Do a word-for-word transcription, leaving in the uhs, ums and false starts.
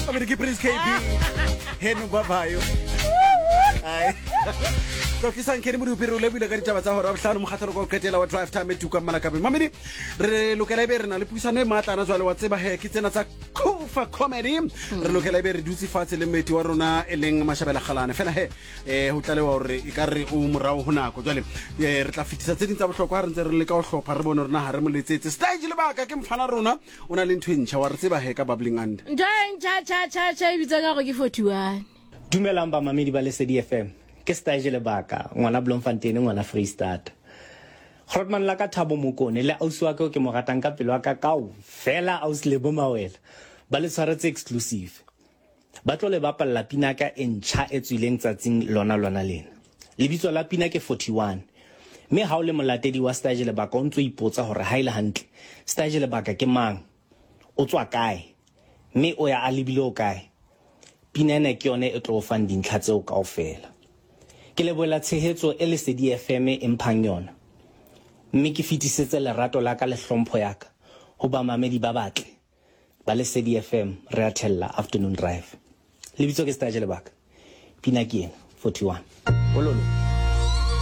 Mamedi, ke Prince K B heno babayo. Ai. Tlotlisang Kenny Modupi, re o lebile ka ditaba tsa hora bohlano, mokgatlhelo ka o qetela wa Drive Time e tukang malakabe. Mamedi, re lokela ebe re na le puisano e matlana jwale, wa tseba he ke tsena tsa Kufa Comedy. Re lokela ebe re dutse fatshe le mmeti wa rona e leng Mashabela Kgalane, fela he um ho tlalewa hore e ka re o morao ho nako. Jwale um re tla fetisa tse ding tsa bohlokwa ha re ntse re leka ho hlopha, re bone rona ha re mo letsetse. Stage lebaka ke mfana rona, o na le ntho e ntjha, wa re tseba he ka Bubbling Under. Ntho e ntjha tjha tjha tjha e bitswa ka gore ke forty-one. Dumelang bamamedi ba Lesedi F M. Ke Stage Lebaka, ngwana Bloemfontein, ngwana Freestata. Grootman la ka Thabo Mokone le ausi wa ka o ke mo ratang ka pelo ya ka kaofela, ausi Lebo Mawela, ba le tshwaretse exclusive. Ba tlo le bapalla pina ka e ntjha e tswileng tsatsing lona lona lena. Lebitso la pina ke forty-one. Mme ha o le molatedi wa Stage Lebaka, o ntso ipotsa hore ha ile hantle Stage Lebaka ke mang, o tswa kae, mme o ya a lebile o kae, pina ena ke yone e tlo o fang dintlha tseo kaofela. Ke lebohela tshehetso e Lesedi F M e mphang yona, mme ke fetisetse lerato la ka le hlompho ya ka ho bamamedi ba batle ba Lesedi F M. Re a thella Afternoon Drive. Lebitso ke Stage Lebaka, pina ke ena, forty-one. Bololo.